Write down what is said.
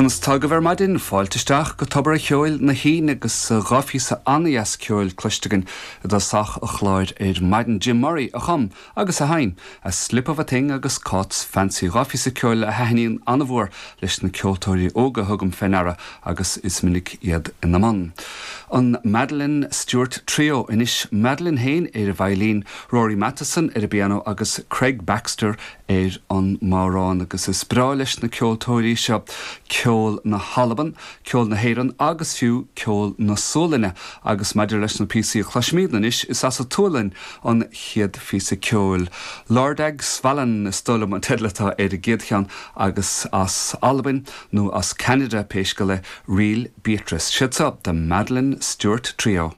Conas tá agaibh ar maidin? Fáilte isteach go Tobar a' Cheoil na hAoine agus dha phíosa an-dheas ceoil cloiste againn i dtosach a' chláir ar maidin. Jim Murray a chum agus a sheinn A Slip of a Thing agus Cáit's Fancy, dha phíosa ceoil a thaitníonn an-mhór leis na ceoltóirí óga a thugaim fé ndeara agus is minic iad ina mbun. An Madeline Stuart Trio anois, Madeline féin ar an veidhlín, Rory Matheson ar an bpianó agus Craig Baxter ar an mbodhrán agus is breá leis na ceoltóirí seo ceol na hAlban, ceol na hÉireann agus fiú ceol na Sualainne agus maidir leis na píosaí a chloisfimid anois is as an tSualainn an chéad phíosa ceoil. Lördagsvallen is dóigh liom an teideal atá ar an gcéad cheann agus as Albain nó as Ceanada pé scéal é, Ríl Beatrice. Siad seo The Madeline Stuart Trio.